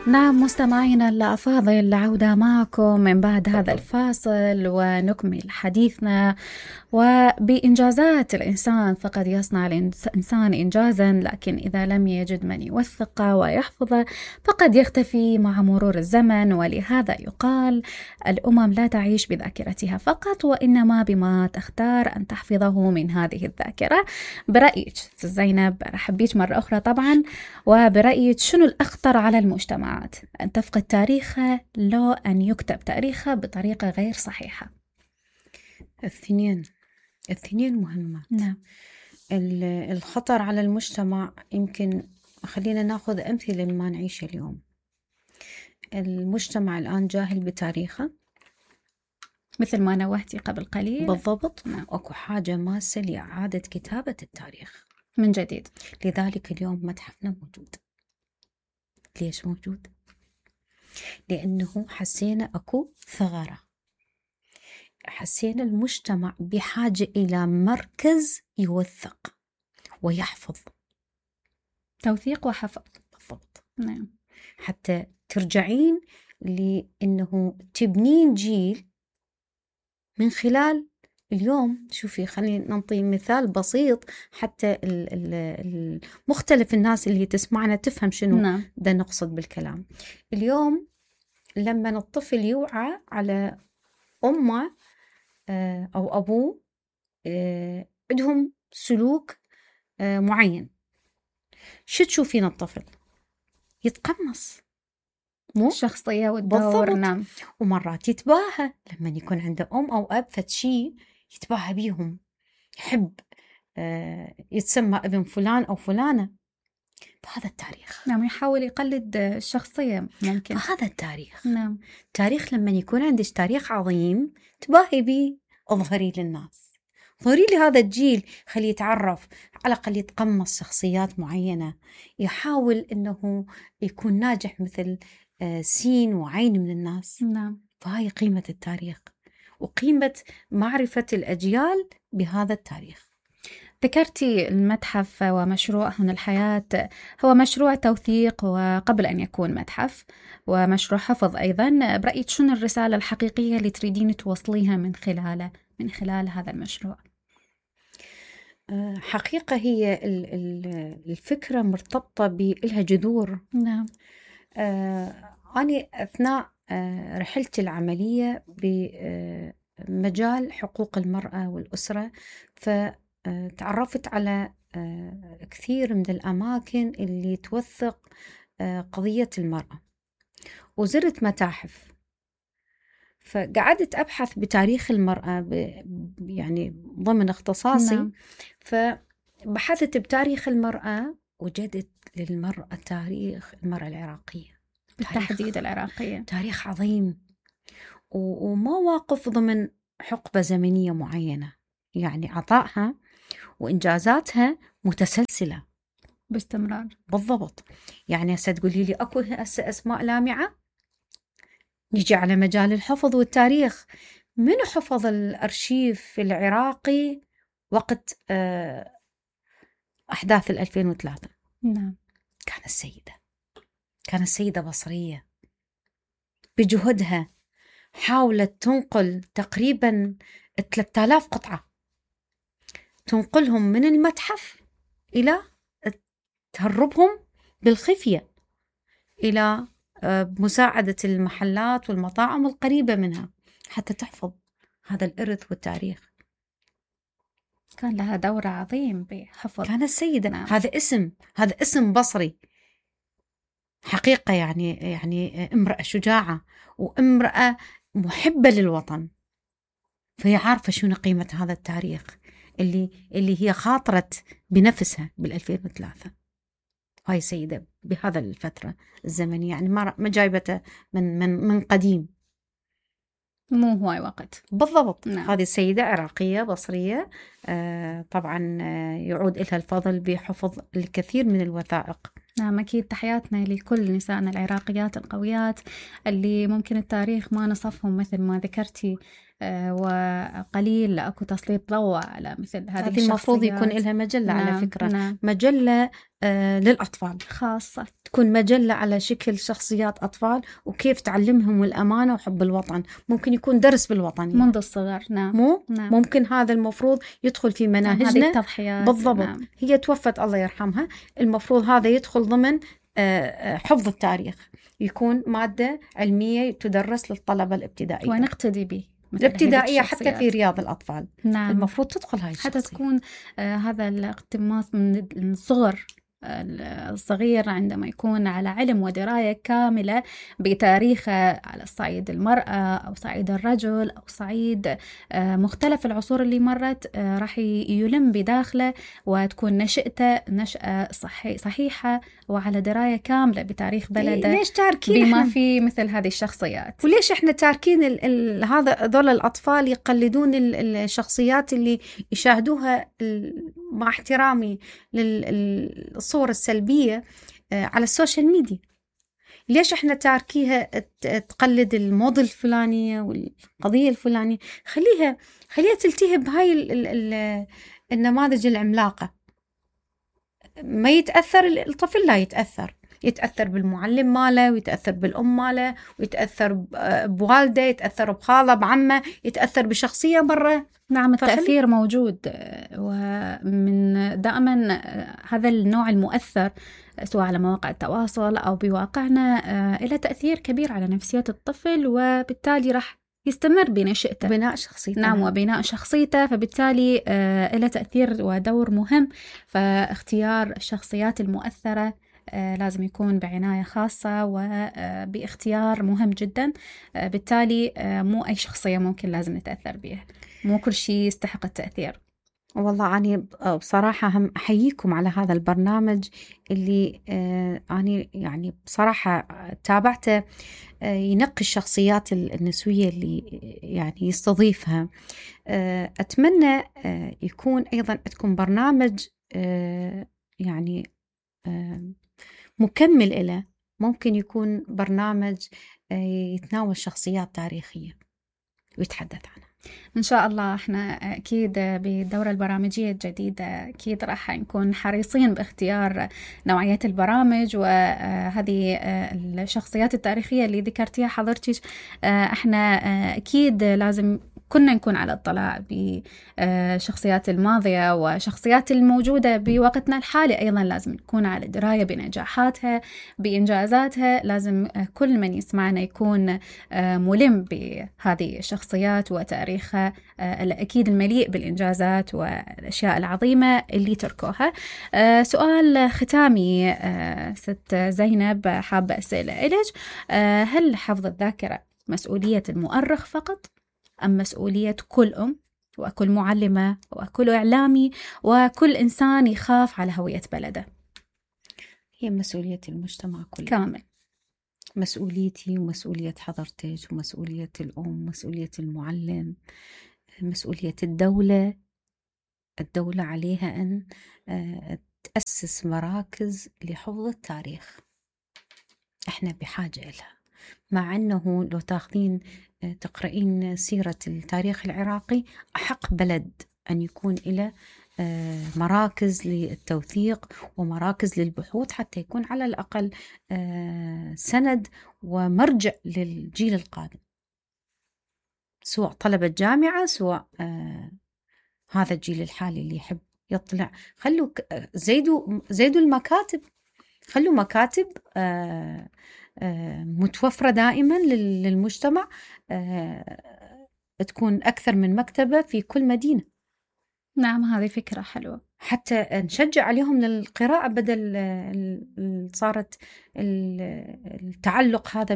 نعم مستمعينا الأفاضل، عودة معكم من بعد هذا الفاصل ونكمل حديثنا. وبإنجازات الإنسان، فقد يصنع الإنسان إنجازا، لكن إذا لم يجد من يوثقه ويحفظه فقد يختفي مع مرور الزمن. ولهذا يقال الأمم لا تعيش بذاكرتها فقط، وإنما بما تختار أن تحفظه من هذه الذاكرة. برأيك زينب، رحب بيك مرة أخرى طبعا، وبرأيك شنو الأخطر على المجتمعات، أن تفقد تاريخها لو أن يكتب تاريخها بطريقة غير صحيحة؟ الاثنين مهمات. نعم. الخطر على المجتمع، يمكن خلينا ناخذ أمثلة مما نعيشه اليوم. المجتمع الآن جاهل بتاريخه، مثل ما نوهتي قبل قليل. بالضبط. نعم. أكو حاجة ماسة لإعادة كتابة التاريخ من جديد. لذلك اليوم متحفنا موجود. ليش موجود؟ لأنه حسينا أكو ثغرة، حسينا المجتمع بحاجة إلى مركز يوثق ويحفظ. توثيق وحفظ. بالضبط. نعم. حتى ترجعين لأنه تبنين جيل من خلال اليوم. شوفي، خلينا نعطي مثال بسيط حتى مختلف الناس اللي تسمعنا تفهم شنو نعم. ده نقصد بالكلام. اليوم لما الطفل يوعى على أمه أو أبوه عندهم سلوك معين، شو تشوفين الطفل؟ يتقمص مو الشخصية والدور. بالضبط. نعم. ومرات يتباهى لما يكون عنده أم أو أب فتشي، يتباهى بيهم، يحب يتسمى ابن فلان أو فلانة. فهذا التاريخ. نعم، يحاول يقلد الشخصية ممكن. فهذا التاريخ. نعم. تاريخ لما يكون عندك تاريخ عظيم تباهي بيه، اظهري للناس، ظهري لي هذا الجيل، خليه يتعرف، على الأقل يتقمص شخصيات معينة، يحاول أنه يكون ناجح مثل سين وعين من الناس. نعم. فهاي قيمة التاريخ وقيمة معرفة الأجيال بهذا التاريخ. ذكرتي المتحف ومشروع هنا الحياة، هو مشروع توثيق وقبل أن يكون متحف، ومشروع حفظ أيضا. برأيك شنو الرسالة الحقيقية اللي تريدين توصليها من خلال هذا المشروع؟ حقيقة هي الفكرة مرتبطة بإلها جذور. نعم. أنا أثناء رحلتي العملية بمجال حقوق المرأة والأسرة، فتعرفت على كثير من الأماكن اللي توثق قضية المرأة، وزرت متاحف، فقعدت أبحث بتاريخ المرأة يعني ضمن اختصاصي. نعم. فبحثت بتاريخ المرأة، وجدت للمرأة تاريخ المرأة العراقية بالتحديد العراقية، تاريخ عظيم، ومواقف ضمن حقبة زمنية معينة، يعني عطائها وإنجازاتها متسلسلة باستمرار. بالضبط. يعني هسه تقولي لي أكو هسه أسماء لامعة. نيجي على مجال الحفظ والتاريخ، من حفظ الأرشيف العراقي وقت أحداث 2003؟ نعم. كانت السيدة بصرية، بجهدها حاولت تنقل تقريبا 3000 قطعة، تنقلهم من المتحف إلى تهربهم بالخفية إلى مساعدة المحلات والمطاعم القريبة منها حتى تحفظ هذا الإرث والتاريخ. كان لها دور عظيم بحفظ. كانت السيدة. نعم. هذا اسم بصري حقيقة، يعني امرأة شجاعة وامرأة محبة للوطن، فهي عارفة شنو قيمة هذا التاريخ اللي هي خاطرت بنفسها بال2003. هاي سيدة بهذا الفترة الزمنية، يعني ما جايبته من قديم، مو هواي وقت. بالضبط. نعم. هذه السيدة عراقية بصرية، طبعا يعود لها الفضل بحفظ الكثير من الوثائق نعم أكيد، تحياتنا لكل نسائنا العراقيات القويات اللي ممكن التاريخ ما نصفهم مثل ما ذكرتي، وقليل أكو تسليط ضوء على مثل هذه الشخصيات. المفروض يكون لها مجلة. نعم. على فكرة نعم. مجلة للأطفال خاصة، تكون مجلة على شكل شخصيات أطفال وكيف تعلمهم الأمانة وحب الوطن. ممكن يكون درس بالوطنية منذ الصغر. نعم. نعم. ممكن هذا المفروض يدخل في مناهجنا. هذه التضحيات بالضبط. نعم. هي توفت الله يرحمها، المفروض هذا يدخل ضمن حفظ التاريخ، يكون مادة علمية تدرس للطلبة الابتدائية ونقتدي به الابتدائية حتى في رياض الأطفال. نعم. المفروض تدخل هاي الشخصية حتى تكون هذا الاقتماص من الصغر الصغير عندما يكون على علم ودراية كاملة بتاريخه على صعيد المرأة أو صعيد الرجل أو صعيد مختلف العصور اللي مرت، راح يلم بداخله وتكون نشأته نشأة صحيحة وعلى دراية كاملة بتاريخ بلده. ليش تاركين بما في مثل هذه الشخصيات؟ وليش احنا تاركين هذول الأطفال يقلدون الشخصيات اللي يشاهدوها مع احترامي للصور السلبية على السوشيال ميديا؟ ليش احنا تاركيها تقلد الموديل الفلانية والقضية الفلانية؟ خليها تلتهب بهاي النماذج العملاقة. ما يتأثر الطفل، لا يتأثر بالمعلم ماله، ويتأثر بالأم ماله، ويتأثر بوالده، يتأثر بخاله، بعمه، يتأثر بشخصية برا. نعم، التأثير موجود، ومن دائما هذا النوع المؤثر سواء على مواقع التواصل أو بواقعنا له تأثير كبير على نفسية الطفل، وبالتالي راح يستمر بنشأته، بناء شخصيته. نعم، وبناء شخصيته، فبالتالي له تأثير ودور مهم. فاختيار الشخصيات المؤثرة لازم يكون بعناية خاصة وباختيار مهم جدا. بالتالي مو أي شخصية ممكن لازم نتأثر بها، مو كل شيء يستحق التأثير. والله أنا بصراحة هم أحييكم على هذا البرنامج اللي أنا يعني بصراحة تابعته، ينقي الشخصيات النسوية اللي يعني يستضيفها. أتمنى يكون أيضا عندكم برنامج يعني مكمل إله، ممكن يكون برنامج يتناول شخصيات تاريخية ويتحدث عنها. إن شاء الله احنا أكيد بالدورة البرامجية الجديدة أكيد راح نكون حريصين باختيار نوعية البرامج وهذه الشخصيات التاريخية اللي ذكرتيها حضرتك. احنا أكيد لازم كنا نكون على اطلاع بشخصيات الماضية وشخصيات الموجودة بوقتنا الحالي، أيضا لازم نكون على دراية بنجاحاتها بإنجازاتها. لازم كل من يسمعنا يكون ملم بهذه الشخصيات وتاريخها الأكيد المليء بالإنجازات والأشياء العظيمة اللي تركوها. سؤال ختامي ست زينب، حابة أسأل إليك، هل حفظ الذاكرة مسؤولية المؤرخ فقط أم مسؤولية كل أم وكل معلمة وكل إعلامي وكل إنسان يخاف على هوية بلده؟ هي مسؤولية المجتمع كله كامل. مسؤوليتي ومسؤولية حضرتك ومسؤولية الأم، مسؤولية المعلم، مسؤولية الدولة. الدولة عليها أن تأسس مراكز لحفظ التاريخ، إحنا بحاجة لها. مع أنه لو تاخذين تقرأين سيرة التاريخ العراقي، أحق بلد أن يكون إلى مراكز للتوثيق ومراكز للبحوث حتى يكون على الأقل سند ومرجع للجيل القادم، سواء طلبة جامعة سواء هذا الجيل الحالي اللي يحب يطلع. خلوا زيدوا المكاتب، خلوا مكاتب متوفرة دائما للمجتمع، تكون أكثر من مكتبة في كل مدينة. نعم، هذه فكرة حلوة، حتى نشجع عليهم للقراءة بدل صارت التعلق هذا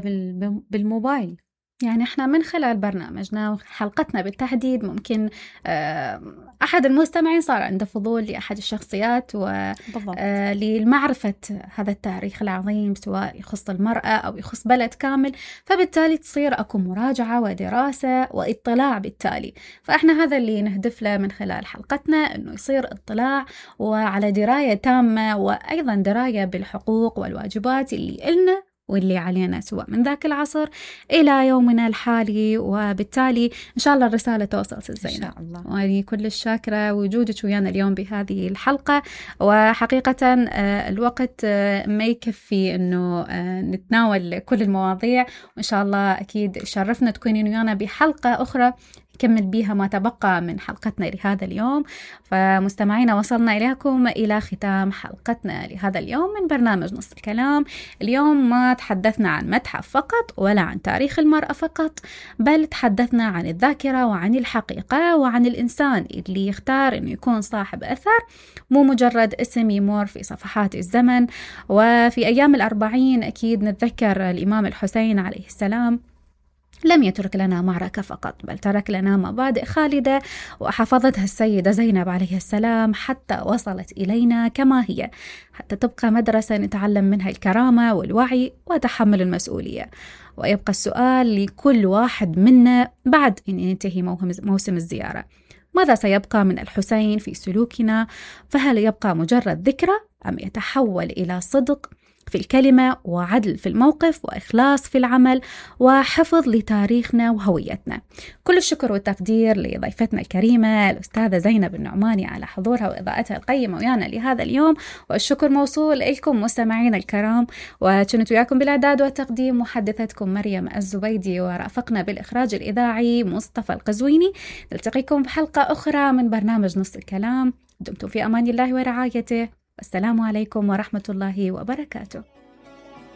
بالموبايل. يعني احنا من خلال برنامجنا وحلقتنا بالتحديد ممكن أحد المستمعين صار عنده فضول لأحد الشخصيات ولمعرفة هذا التاريخ العظيم، سواء يخص المرأة أو يخص بلد كامل، فبالتالي تصير أكو مراجعة ودراسة واطلاع بالتالي. فإحنا هذا اللي نهدف له من خلال حلقتنا، أنه يصير اطلاع وعلى دراية تامة، وأيضا دراية بالحقوق والواجبات اللي إلنا واللي علينا سواء من ذاك العصر إلى يومنا الحالي. وبالتالي إن شاء الله الرسالة توصل زينب. إن شاء الله. وأنا كل الشاكرة وجودك ويانا اليوم بهذه الحلقة، وحقيقة الوقت ما يكفي إنه نتناول كل المواضيع، وإن شاء الله أكيد شرفنا تكونين ويانا بحلقة أخرى نكمل بيها ما تبقى من حلقتنا لهذا اليوم. فمستمعينا وصلنا إليكم إلى ختام حلقتنا لهذا اليوم من برنامج نص الكلام. اليوم ما تحدثنا عن متحف فقط ولا عن تاريخ المرأة فقط، بل تحدثنا عن الذاكرة وعن الحقيقة وعن الإنسان اللي يختار أنه يكون صاحب أثر، مو مجرد اسم يمر في صفحات الزمن. وفي أيام الأربعين أكيد نتذكر الإمام الحسين عليه السلام لم يترك لنا معركة فقط، بل ترك لنا مبادئ خالدة وحفظتها السيدة زينب عليه السلام حتى وصلت إلينا كما هي، حتى تبقى مدرسة نتعلم منها الكرامة والوعي وتحمل المسؤولية. ويبقى السؤال لكل واحد منا بعد أن ينتهي موسم الزيارة: ماذا سيبقى من الحسين في سلوكنا؟ فهل يبقى مجرد ذكرى أم يتحول إلى صدق في الكلمة وعدل في الموقف وإخلاص في العمل وحفظ لتاريخنا وهويتنا؟ كل الشكر والتقدير لضيفتنا الكريمة الأستاذة زينب النعماني على حضورها وإضاءتها القيمة ويانا لهذا اليوم، والشكر موصول لكم مستمعين الكرام. وكنت وياكم بالإعداد والتقديم محدثتكم مريم الزبيدي، ورافقنا بالإخراج الإذاعي مصطفى القزويني. نلتقيكم بحلقة أخرى من برنامج نص الكلام. دمتم في أمان الله ورعايته. السلام عليكم ورحمة الله وبركاته.